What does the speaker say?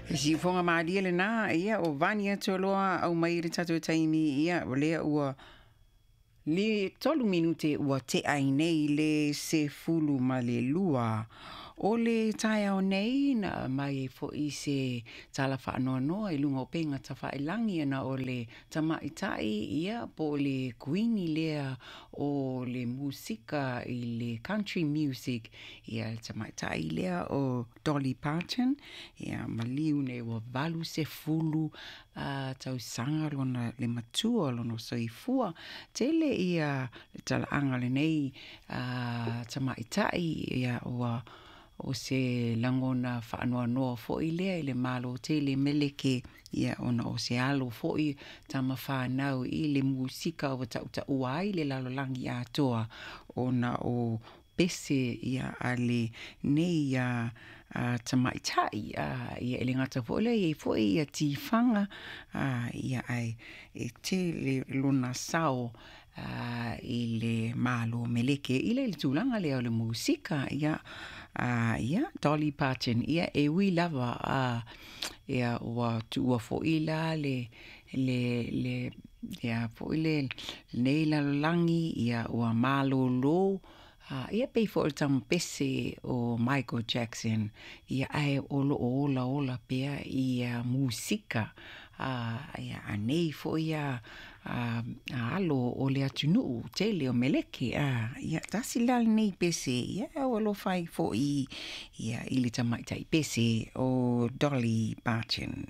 E siufoga malie lenā, ia o Vani Atualoa aumai i le tatou taimi, ia o lea ua le 3 minute ua tea ai nei le 12 o le taeao nei, na aumai ai foi se tala faanoanoa i luga o upega tafailagi ona o le tamaitai, ia po o le kuini lea o le musika i le country music, ia le tamaitai lea o Dolly Parton, ia maliu nei ua 80 tausaga lona le matua lona soifua. Tele ia le talaaga o lenei tamaitai, ia ua o se lagona faanoanoa foi lea i le Malo tele meleke, ia ona o se alo foi tama whanau i le musika ua tautaua ai le lalolagi atoa ona o pese ia a lenei tamaitai, ia e le gata foi lea, e i ai foi ia tifaga, ia ae e tele lona sao i le Malo meleke i le tulaga lea o le musika, ia ia Dolly Parton, ia e ui lava ia ua tuua foi la le le le ia foi le nei lalolagi, ia ua malōlō, ia pei foi o le tama pese o Michael Jackson, ia ae o loo ola ola pea ia musika ia anei foi ia alo o le atunuu tele o meleke, ia tasi la lenei pese, ia ua alofa ai foi ia i le tamaitai pese o Dolly Parton.